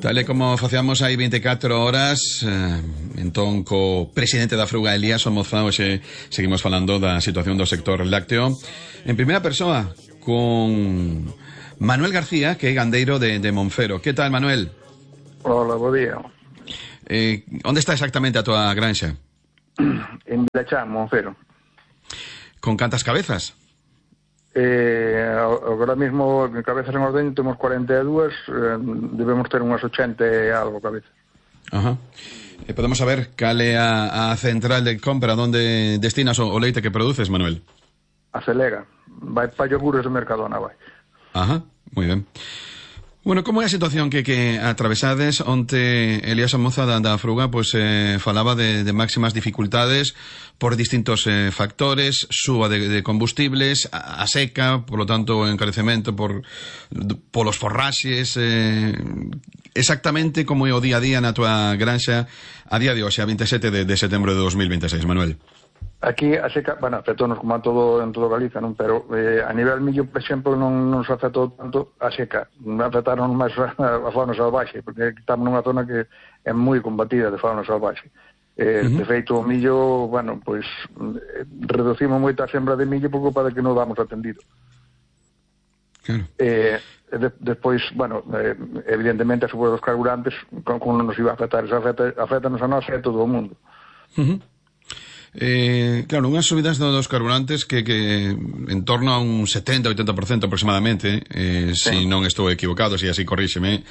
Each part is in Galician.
Tal e como facíamos hai 24 horas, entón co presidente da Fruga, Elías Somoza, hoxe seguimos falando da situación do sector lácteo en primeira persoa con Manuel García, que é gandeiro de Monfero. Que tal, Manuel? Hola, bo día. Onde está exactamente a tua granxa? En Vilachán, Monfero. Con cantas cabezas? Agora mismo en cabezas en ordeño temos 42, debemos ter unhas 80 e algo cabezas. Ajá. Podemos saber cal é a central de compra onde destinas o leite que produces, Manuel? A Celega, vai para yogures do Mercadona, vai. Ajá, moi ben. Bueno, como é a situación que atravesades? Onte Elías Somoza da Fruga falaba de máximas dificultades por distintos factores, suba de combustibles, a seca, por lo tanto o encarecemento polos forraxes, exactamente como é o día a día na tua granxa a día de hoxe, a 27 de setembro de 2026, Manuel. Aquí a seca, bueno, afectónos como en todo Galiza, non? Pero a nivel millo, por exemplo, non nos afectou tanto a seca. Afectaron máis a fauna salvaxe, porque estamos nunha zona que é moi combatida de fauna salvaxe. De feito, o millo, bueno, pois reducimos moito a sembra de millo por culpa de que non damos atendido. Claro. Despois, bueno, evidentemente a suba dos carburantes, como non nos iba a afectar, afectanos a nós e a todo o mundo. Claro, unhas subidas dos carburantes que en torno a un 70-80% aproximadamente, si non estou equivocado, si así corríxeme,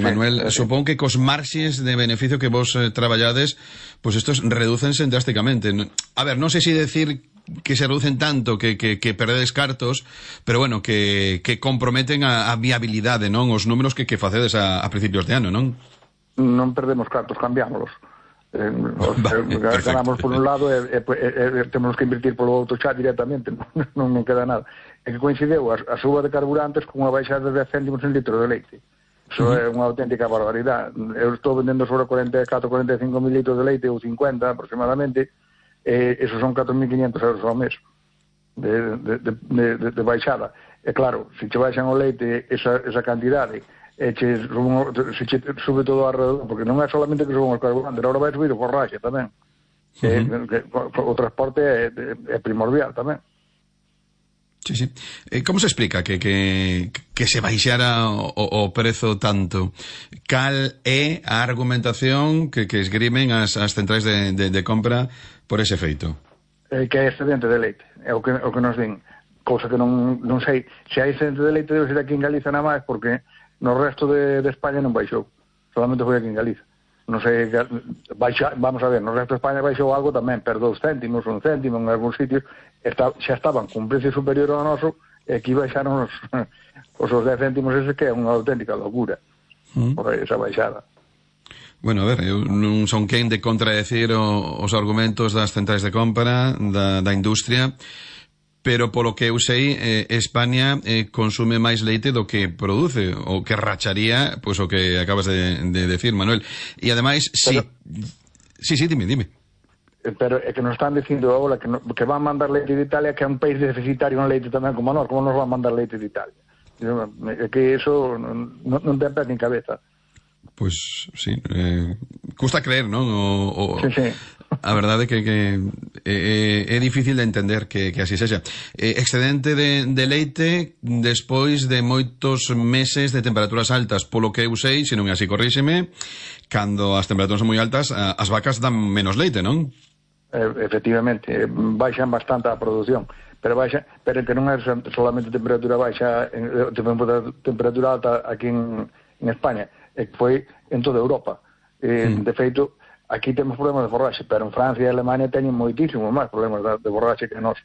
Manuel, supón que cos marxes de beneficio que vos traballades, pois estos redúcense drásticamente. A ver, non sei se decir que se reducen tanto que perdedes cartos, pero bueno, que comprometen a viabilidade, non? Os números que facedes a principios de ano, non? Non perdemos cartos, cambiámolos. Ganamos por un lado e temos que invertir polo outro xa directamente, non queda nada. É que coincideu a suba de carburantes con unha baixada de 10 céntimos en litro de leite. Iso é unha auténtica barbaridade. Eu estou vendendo sobre 44-45 mil litros de leite ou 50 aproximadamente, esos son 4.500 euros ao mes de baixada. E claro, se che baixan o leite esa cantidade, se sube todo alrededor, porque non é solamente que suban os carburantes, agora vai subir o forraxe tamén. O transporte é primordial tamén. Sí. Como se explica que se baixara o prezo tanto? Cal é a argumentación que esgrimen as centrais de compra por ese feito? Que é excedente de leite, é o que nos din. Cousa que non sei, se hai excedente de leite debe ser aquí en Galiza nada máis, porque no resto de España non baixou, solamente foi aquí en Galiza. Non sei, vamos a ver, no resto de España baixou algo tamén, per 2 céntimos, 1 céntimo, en algúns sitios xa estaban con precio superior ao noso, e aquí baixaron os 10 céntimos ese, que é unha auténtica locura por esa baixada. Bueno, a ver, eu non son quen de contradecir os argumentos das centrais de compra, da industria, pero polo que eu sei, España consume máis leite do que produce, o que racharía, pois o que acabas de decir, Manuel. E ademais, sí, dime. Pero é que nos están dicindo agora que van mandar leite de Italia, que é un país deficitario en leite tamén como nós, como nos van mandar leite de Italia? É que iso non ten pé nin cabeza. Pois, sí, custa creer, non? Sí. A verdade que é difícil de entender que así sexa. Excedente de leite despois de moitos meses de temperaturas altas, polo que eu sei, se non é así, corríxeme, cando as temperaturas son moi altas, as vacas dan menos leite, non? Efectivamente, baixan bastante a produción, pero que non é solamente temperatura baixa, temperatura alta aquí en España, foi en toda Europa. De feito, aquí temos problemas de forraxe, pero en Francia e Alemania teñen moitísimos máis problemas de forraxe que nós.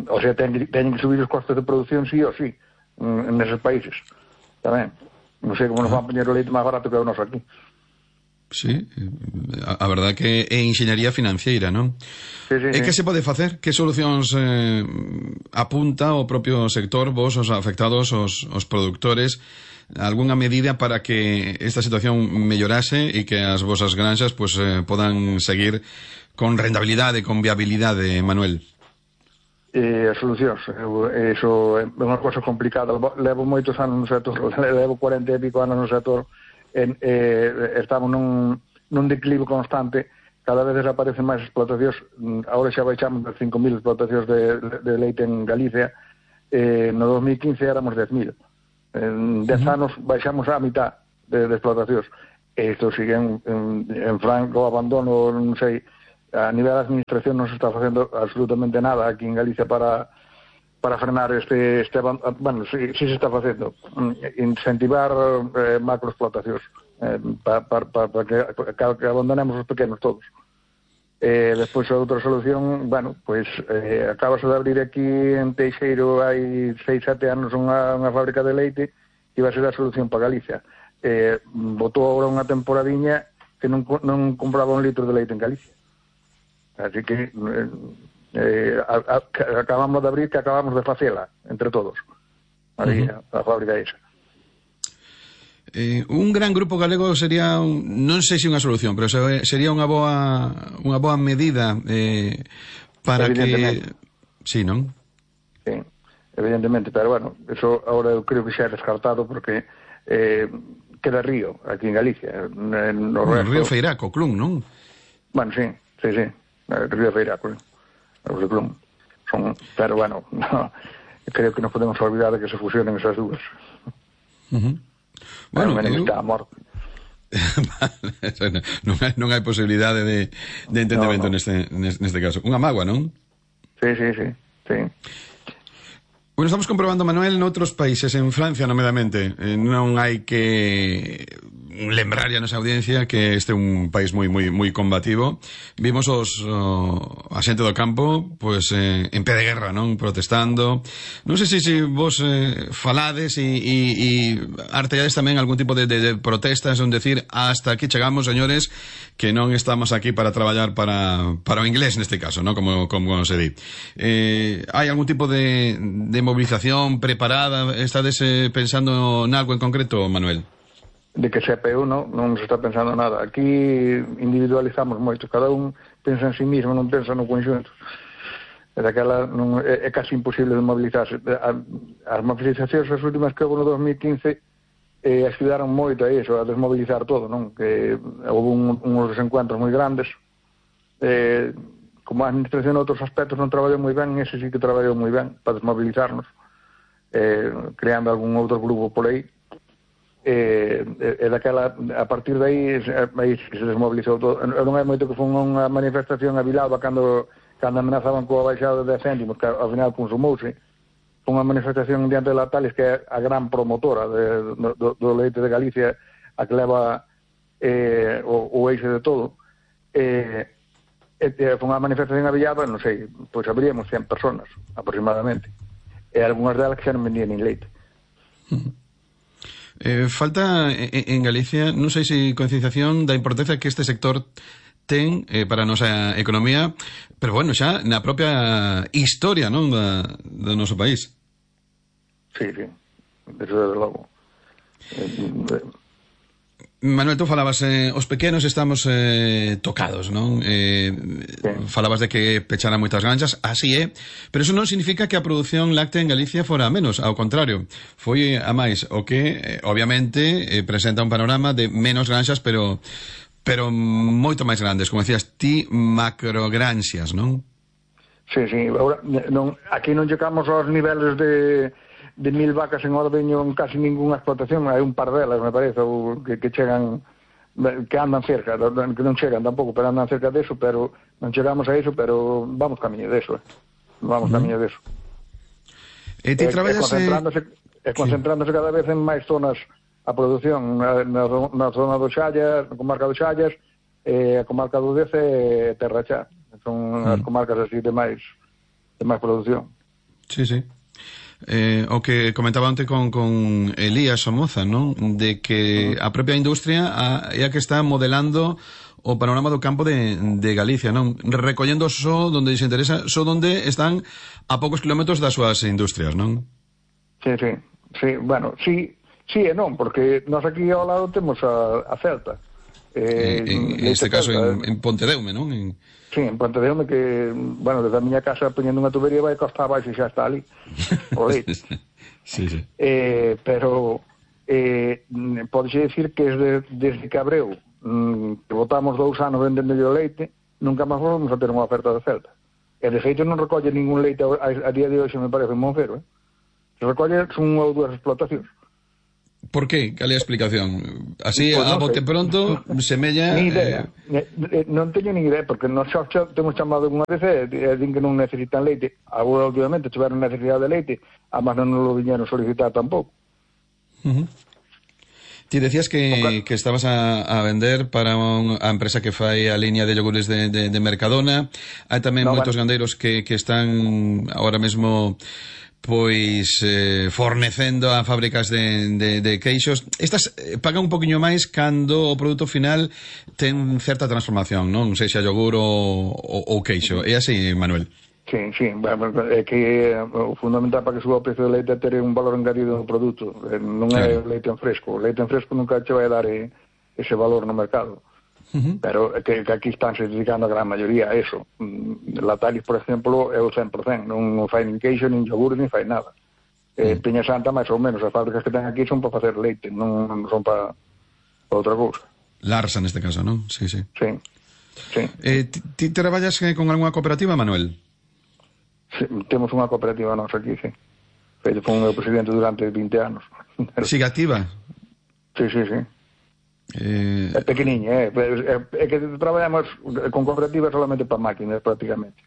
O sea, teñen que subir os costes de producción sí ou sí neses países tamén. Non sei como nos van poñer o leite máis barato que o noso aquí. Sí, a verdade que é enxeñaría financiera, non? Sí. Que se pode facer? Que solucións apunta o propio sector, vos, os afectados, os produtores, algunha medida para que esta situación mellorase e que as vosas granxas podan seguir con rentabilidade, con viabilidade, Manuel? as solucións. Iso é unha cosa complicada. Levo moitos anos no sector, levo 40 e pico anos no sector, estamos nun declive constante, cada vez aparecen máis explotacións. Agora xa baixamos de 5.000 explotacións de leite en Galicia. No 2015 éramos 10.000. En 10 anos baixamos a mitad de explotacións. Isto sigue en franco abandono, non sei. A nivel da administración non se está facendo absolutamente nada aquí en Galicia para frenar este bueno, sí se está facendo, incentivar macroexplotacións, para que abandonemos os pequenos todos. Despois a outra solución, bueno, pois acabase de abrir aquí en Teixeiro hai 6-7 anos unha fábrica de leite que iba a ser a solución para Galicia. Botou agora unha temporadiña que non compraba un litro de leite en Galicia. Así que acabamos de abrir, que acabamos de facela entre todos, a fábrica esa. Un gran grupo galego sería, non sei se unha solución, pero sería unha boa medida para que... Sí, non? Sí, evidentemente, pero bueno, eso ahora eu creo que xa é descartado porque queda río aquí en Galicia. No Río Feiraco, Clun, non? Bueno, sí. Río Feiraco, os de Clun. Pero bueno, no, creo que non podemos olvidar de que se fusionen esas dúas. Bueno, está morto. non hai posibilidade de entendemento neste caso. Unha mágoa, non? Sí. Bueno, estamos comprobando, Manuel, noutros países, en Francia, nomedamente, non hai que lembrar a nosa audiencia que este é un país moi combativo. Vimos a xente do campo pois en pé de guerra, non? Protestando. Non sei se vos falades e artellades tamén algún tipo de protestas, un decir, hasta aquí chegamos, señores, que non estamos aquí para traballar para o inglés neste caso, non? Como se di. Hai algún tipo de movilización preparada? Estades pensando nalgo en concreto, Manuel? De que sepa eu non se está pensando nada. Aquí individualizamos moito, cada un pensa en sí mismo, non pensa no conxunto. É casi imposible de mobilizarse. As movilizacións as últimas que houve no 2015 axudaron moito a iso, a desmobilizar todo, non? Que houve uns desencuentros moi grandes. Como a administración en outros aspectos non traballou moi ben, ese sí que traballou moi ben para desmobilizarnos, creando algún outro grupo por aí. A partir de aí se desmobilizou todo. Non hai moito que foi unha manifestación a Villalba cando amenazaban coa baixada de 10 céntimos, que ao final consumouse. Foi unha manifestación diante de Lactalis, que é a gran promotora do leite de Galicia, a que leva o eixe de todo. Foi unha manifestación a Villalba, non sei, pois abríamos 100 personas aproximadamente, e algunhas delas que xa non vendían nin leite. Falta en Galicia, non sei se concienciación da importancia que este sector ten para a nosa economía, pero bueno, xa na propia historia, non, do noso país. Sí, desde logo. Manuel, tú falabas, os pequenos estamos tocados, non? Falabas de que pecharan moitas granxas, así é, pero eso non significa que a produción láctea en Galicia fora a menos, ao contrario, foi a máis, o que, obviamente, presenta un panorama de menos granxas, pero moito máis grandes, como decías ti, macrogranxas, non? Sí, ahora, aquí non chegamos aos niveles de 1.000 vacas en ordeño en casi ninguna explotación, hai un par delas, me parece, que chegan, que andan cerca, que non chegan tampouco, pero andan cerca deso, pero non chegamos a eso, pero vamos camiño deso, camiño deso. E ti traballas... concentrándose cada vez en máis zonas a produción, na zona do Xallas, na comarca do Xallas, a comarca do Dece e Terra Xa, son as comarcas así de máis producción. Sí. O que comentaba onte con Elías Somoza, non? De que a propia industria é a que está modelando o panorama do campo de Galicia, non? Recollendo só donde se interesa, só donde están a poucos kilómetros das súas industrias, non? Sí, bueno, sí e non, porque nós aquí ao lado temos a Celta, En este caso en Pontedeume, non? Sí, en Pontedeume, que, bueno, desde a miña casa poñendo unha tubería vai costa abaixo e xa está ali o leite. Sí. Pero podese decir que desde que abreu que botamos 2 anos vendendo o leite, nunca máis volvemos a ter unha oferta de Celta. E de feito non recolle ningún leite a día de hoxe, me parece, en Monfero, recolle unha ou 2 explotacións. Por qué? Cal é a explicación? Así, pues a bote pronto, semella... Ni idea. Non teño ni idea, porque nós xa temos chamado unha vez e din que non necesitan leite. Agora, obviamente, tiveron necesidade de leite, además non nos lo viñeron solicitar tampouco. Ti decías que estabas a vender para a empresa que fai a liña de yogures de Mercadona. Hai tamén moitos gandeiros que están ahora mesmo pois fornecendo a fábricas de queixos. Estas pagan un poquinho máis cando o produto final ten certa transformación, non? Sexa yogur ou queixo. É así, Manuel? Sí, é que o fundamental para que suba o precio do leite é ter un valor engadido no produto, non é leite en fresco. O leite en fresco nunca che vai dar ese valor no mercado. Pero que aquí están se dedicando a gran maioría a eso. Latalis, por exemplo, é o 100%, non fai nin queixo, nin yogur, nin fai nada. Peña Santa, máis ou menos, as fábricas que ten aquí son para facer leite, non son para outra cousa. Larsa, neste caso, non? Sí. Ti traballas con algunha cooperativa, Manuel? Sí, temos unha cooperativa nosa aquí, sí. Foi o meu presidente durante 20 anos. Sigue activa? Sí. É pequeniña, é que traballamos con cooperativas solamente para máquinas, prácticamente.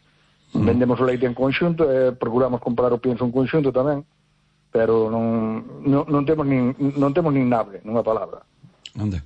Vendemos o leite en conxunto, procuramos comprar o pienso en conxunto tamén, pero non temos nin nave, nunha palabra. Onde?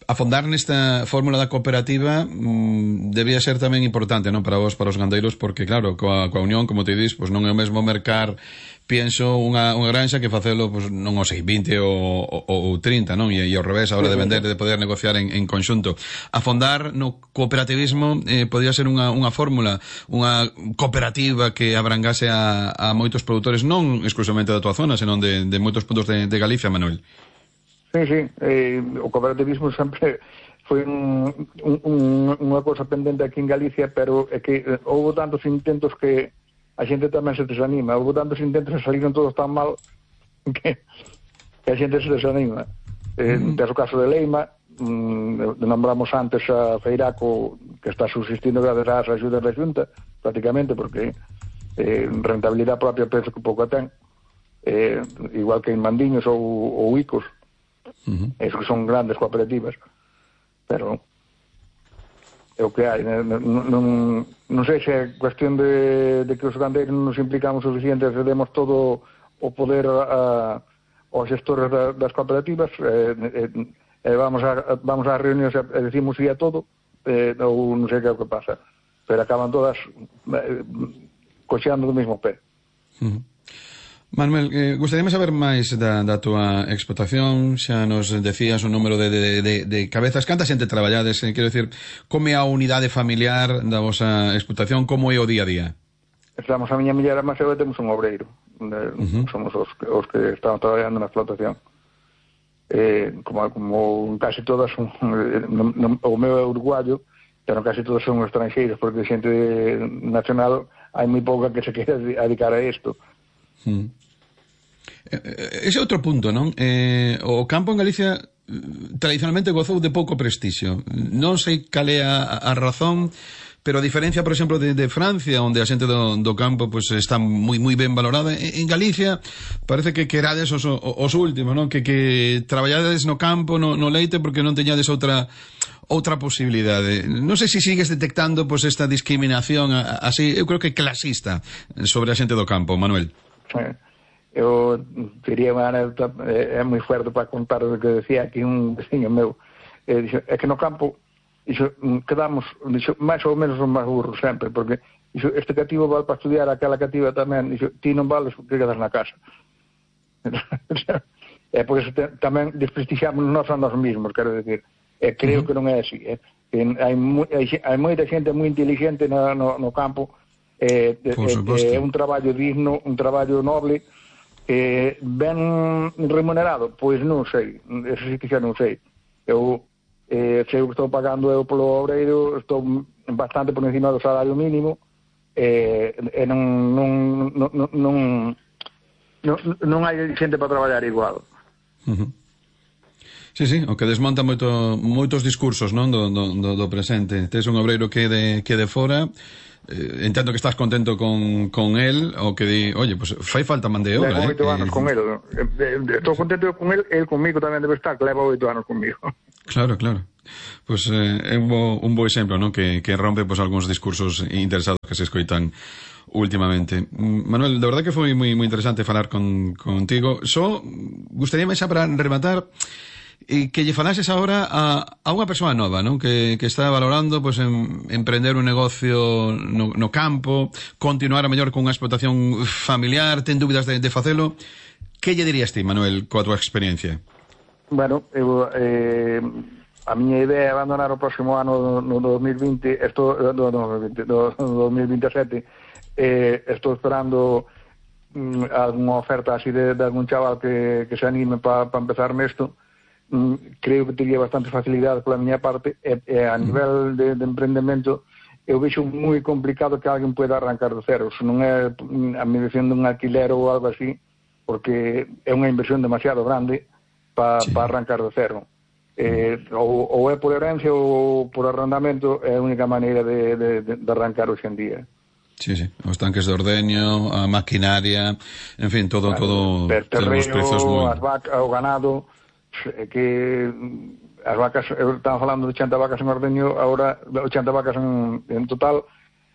Afondar nesta fórmula da cooperativa debía ser tamén importante, non, para vos, para os gandeiros, porque claro, coa unión, como te dis, pois non é o mesmo mercar, pienso, unha granxa que facelo, pois non o sei, 20 ou 30, non? E ao revés, a hora de vender, de poder negociar en conxunto. Afondar no cooperativismo podría ser unha fórmula, unha cooperativa que abrangase a moitos produtores, non exclusivamente da tua zona, senón de moitos puntos de Galicia, Manuel. Sí, o cooperativismo sempre foi unha cosa pendente aquí en Galicia, pero é que houve tantos intentos que a xente tamén se desanima. Houve tantos intentos e saliron todos tan mal que a xente se desanima. Tens o caso de Leima, nombramos antes a Feiraco, que está subsistindo gracias ás axudas da Xunta, prácticamente, porque rentabilidade propia penso que pouco ten, igual que en Mandiños ou Icos. Esos que son grandes cooperativas, pero é o que hai. Non sei se é cuestión de que os gandeiros non nos implicamos suficiente, cedemos todo o poder aos xestores das cooperativas, vamos ás reunións e decimos sí a todo, ou non sei que é o que pasa, pero acaban todas coxeando do mesmo pé. Manuel, gustaríame saber máis da tua explotación. Xa nos decías o número de cabezas. Canta xente traballades? Quero dicir, como é a unidade familiar da vosa explotación? Como é o día a día? Estamos a miña muller e máis eu temos un obreiro. Somos os que estamos traballando na explotación. Como casi todas o meu é uruguayo, pero casi todos son estranxeiros, porque xente nacional hai moi pouca que se quere dedicar a isto. Ese é outro punto, non? O campo en Galicia tradicionalmente gozou de pouco prestixio. Non sei cal é a razón, pero a diferencia, por exemplo, de Francia, onde a xente do campo pues, está moi ben valorada, en Galicia parece que erades os últimos, non? Que traballades no campo, no leite, porque non teñades outra posibilidade. Non sei se sigues detectando pues, esta discriminación así, eu creo que clasista sobre a xente do campo, Manuel. Eu diría unha anécdota, é moi fuerte para contar o que decía aquí un veciño meu. É que no campo quedamos máis ou menos os máis burros sempre, porque este cativo vale para estudiar, aquela cativa tamén, ti non vales porque quedas na casa. É por eso tamén desprestixiamos nós a nós mesmos, quero decir. Creo que non é así. Hai moita xente moi inteligente no campo, é un traballo digno, un traballo noble, ben remunerado, pois non sei, eso sí que xa non sei. Eu se eu estou pagando eu polo obreiro, estou bastante por encima do salario mínimo, e non hai xente para traballar igual. Sí, o que desmonta moitos discursos, non, do presente. Tes un obreiro que de fora, entendo que estás contento con él, o que di, oye, pues fai falta man de obra. Levo 8 anos con él. Estou contento con él conmigo tamén debe estar, que leva 8 anos conmigo. Claro. Pues é un bo exemplo, non? Que rompe pues algúns discursos interesados que se escoitan últimamente. Manuel, de verdad que foi moi interesante falar contigo. Só gustaríame xa para rematar que lle falases agora a unha persoa nova, non? Que está valorando pues emprender un negocio no campo, continuar a mellor con unha explotación familiar, ten dúbidas de facelo. Que lle dirías ti, Manuel, coa tua experiencia? Bueno, a miña idea é abandonar o próximo ano no 2020, no 2027. Estou esperando algunha oferta así de algún chaval que se anime para empezar nesto. Creo que teria bastante facilidade pola miña parte, a nivel de emprendemento eu vexo moi complicado que alguén pueda arrancar do cero, se non é a medición dun alquiler ou algo así, porque é unha inversión demasiado grande para arrancar do cero. Ou é por herencia ou por arrendamento, é a única maneira de arrancar hoxe en día. Sí, os tanques de ordeño, a maquinaria, en fin, todo terreno, as vacas, o ganado, que as vacas, estaban falando de 80 vacas en ordeño, agora 80 vacas en total,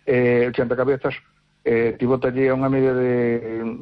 80 cabezas, ti botalle a unha media de